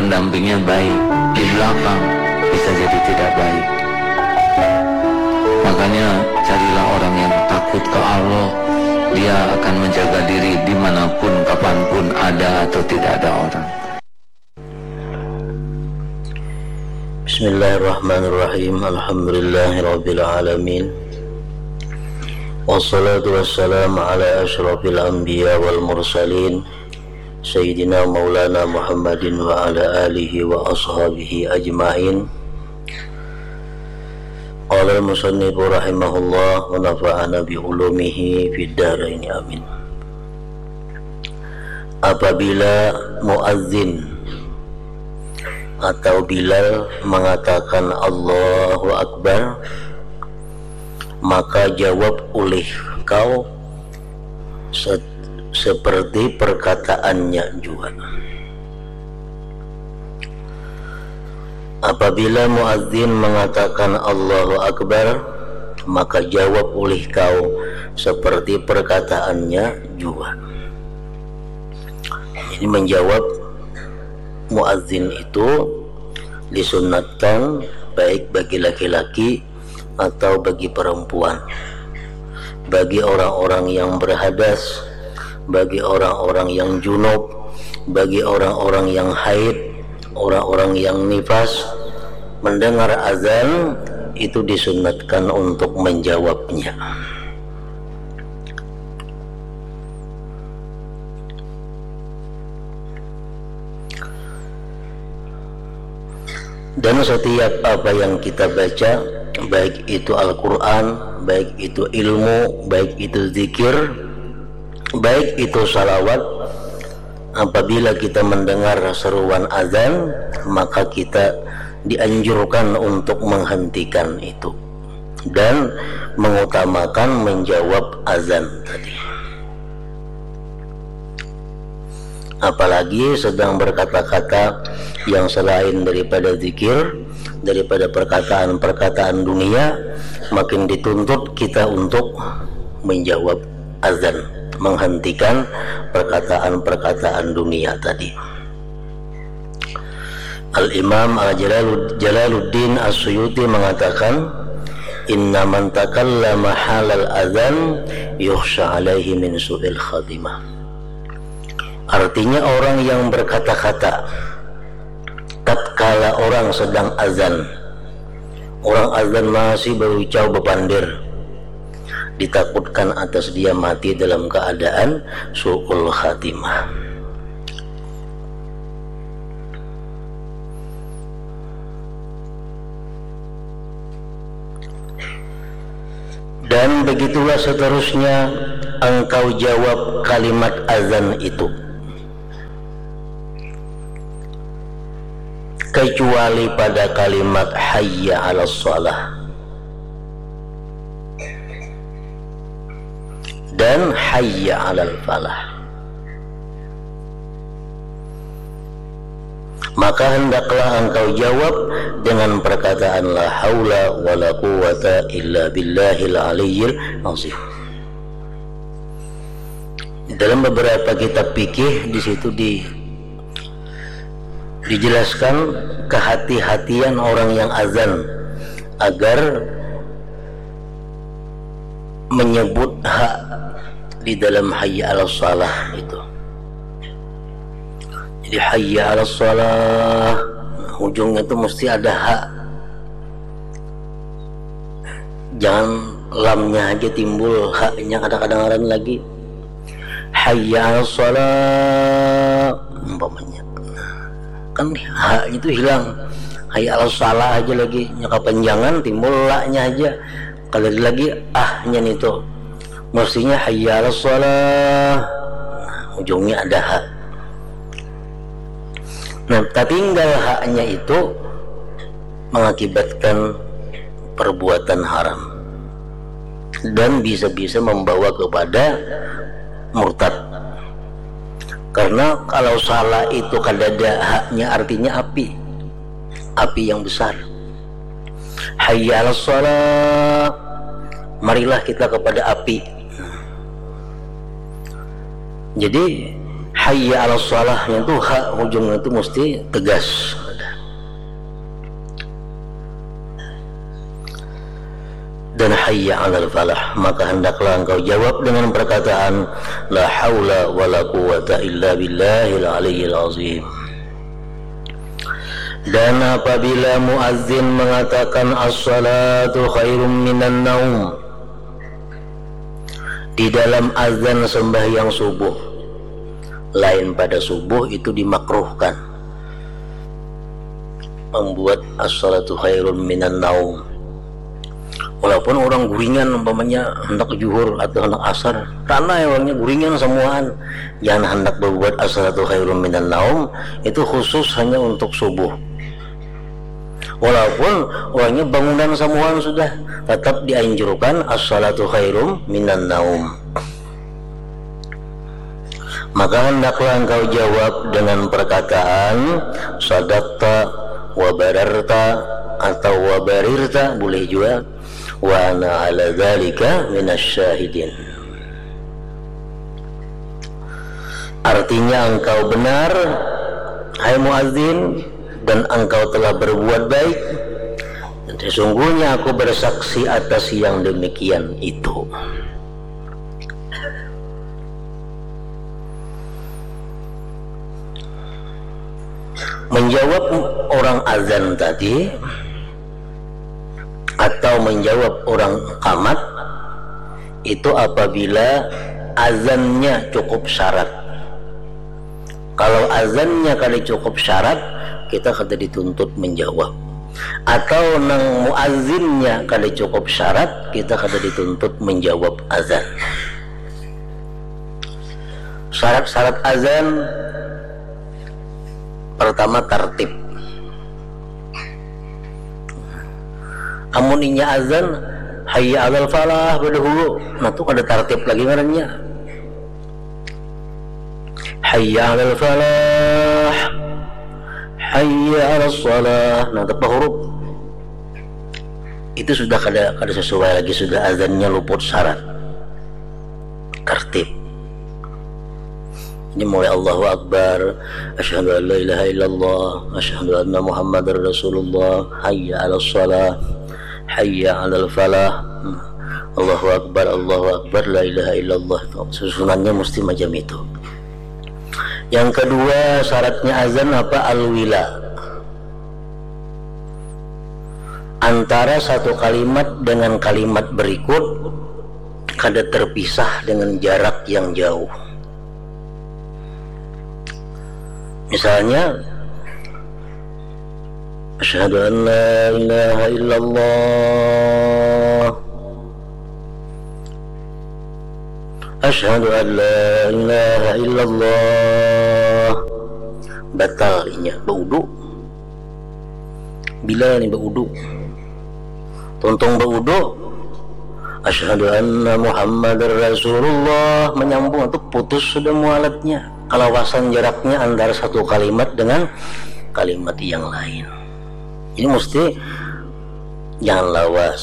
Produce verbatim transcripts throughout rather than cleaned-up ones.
Pendampingnya baik, di belakang bisa jadi tidak baik. Makanya carilah orang yang takut ke Allah, dia akan menjaga diri dimanapun, kapanpun ada atau tidak ada orang. Bismillahirrahmanirrahim. Alhamdulillahirabbil alamin. Wassalatu wassalamu ala asyrafil anbiya wal mursalin, Sayyidina Maulana Muhammadin wa ala alihi wa ashabihi ajmain. Qala al-musannifu rahimahullah wa nafa'ana bi ulumihi fid daraini, amin. Apabila muazzin atau Bilal mengatakan Allahu Akbar, maka jawab ulih kau se- seperti perkataannya jua. Apabila muazzin mengatakan Allahu Akbar, maka jawab ulih kau seperti perkataannya jua. Jadi menjawab muazzin itu disunatkan baik bagi laki-laki atau bagi perempuan, bagi orang-orang yang berhadas, bagi orang-orang yang junub, bagi orang-orang yang haid, orang-orang yang nifas, mendengar azan itu disunatkan untuk menjawabnya. Dan setiap apa yang kita baca, baik itu Al-Quran, baik itu ilmu, baik itu zikir, baik itu salawat, apabila kita mendengar seruan azan, maka kita dianjurkan untuk menghentikan itu dan mengutamakan menjawab azan tadi. Apalagi sedang berkata-kata yang selain daripada zikir, daripada perkataan-perkataan dunia, makin dituntut kita untuk menjawab azan, menghentikan perkataan-perkataan dunia tadi. Al-Imam Al-Jalaluddin As-Suyuti mengatakan, "Inna man takallama halal azan yukhsha alaihi min su'il khatimah." Artinya, orang yang berkata-kata tatkala orang sedang azan, orang azan masih berucau bepandir, ditakutkan atas dia mati dalam keadaan su'ul khatimah. Dan begitulah seterusnya engkau jawab kalimat azan itu, kecuali pada kalimat hayya 'alas shalah dan hayya 'alal falah. Maka hendaklah engkau jawab dengan perkataan la haula wala quwwata illa billahil aliyyil azim. Dalam beberapa kitab fikih di situ di dijelaskan kehati-hatian orang yang azan agar menyebut ha di dalam hayya 'alas shalah itu. Jadi hayya 'alas shalah, ujungnya itu mesti ada ha. Jangan lamnya aja timbul, ha-nya kada kadangaran lagi. Hayya 'alas shalah umpamanya. Kan ha-nya itu hilang. Hayya 'alas shalah aja lagi, nya kapanjangan, timbul la-nya aja. Kada ada lagi ah-nya nitu. Mestinya hayya 'alas shalah. Nah, ujungnya ada ha. Nah, tatinggal ha-nya itu mengakibatkan perbuatan haram dan bisa-bisa membawa kepada murtad. Karena kalau shalah itu kadada ha-nya, artinya api. Api yang besar. Hayya 'alas shalah. Marilah kita kepada api. Jadi, hayya ala salahnya itu ha ujungnya itu mesti tegas. Dan hayya alal falah, maka hendaklah engkau jawab dengan perkataan la haula wala quwwata illa billahil aliyyil azim. Dan apabila muazin mengatakan as-salatu khairum minan naum di dalam azan sembahyang subuh, lain pada subuh itu dimakruhkan membuat as-salatu khairum minan naum. Walaupun orang guringan umpamanya hendak juhur atau hendak asar, karena orangnya guringan semuaan, jangan hendak berbuat as-salatu khairum minan naum, itu khusus hanya untuk subuh. Walaupun orangnya bangunan semuaan sudah, tetap dianjurkan as-salatu khairum minan naum. Maka hendaklah engkau jawab dengan perkataan sadaqta wa bararta atau wa barirta, boleh juga, wa ana ala dzalika minasy syahidin. Artinya engkau benar, hai muazin, dan engkau telah berbuat baik, dan sesungguhnya aku bersaksi atas yang demikian itu. Menjawab orang azan tadi atau menjawab orang qamat itu apabila azannya cukup syarat. Kalau azannya kada cukup syarat, kita kada dituntut menjawab. Atau nang muazinnya kada cukup syarat, kita kada dituntut menjawab azan. Syarat-syarat azan, pertama tartib. Amun inya azan hayya alal falah badahulu, nah tu kada tartib lagi ngarannya. Hayya alal falah, hayya alal salah, nah tepa huruf. Itu sudah kada, kada sesuai lagi, sudah azannya luput syarat tartib. Ini mulai Allahu Akbar, asyhadu an la ilaha illallah, asyhadu anna Muhammadar Rasulullah, hayya alal salah, hayya alal falah. Allahu Akbar, Allahu Akbar, la ilaha illallah. Susunannya mesti macam itu. Yang kedua, syaratnya azan apa? Al-wila. Antara satu kalimat dengan kalimat berikut kada terpisah dengan jarak yang jauh. Misalnya, asyhadu an la ilaha illallah. Asyhadu an la ilaha illallah. Batal inya baudu. Bila ni baudu. Tuntung baudu. Asyhadu anna Muhammadar Rasulullah, menyambung tu putus sudah mualatnya. Kalawasan jaraknya antara satu kalimat dengan kalimat yang lain. Ini mesti jangan lawas.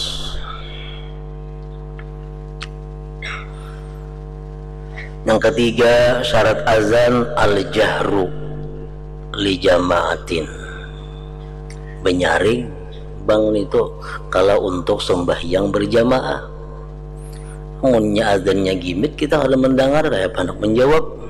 Yang ketiga, syarat azan al-jahru li jamaatin. Benyaring bang nitu kalau untuk sembahyang berjamaah. Munnya azannya gimit, kita kada mendengar, kayak panak menjawab.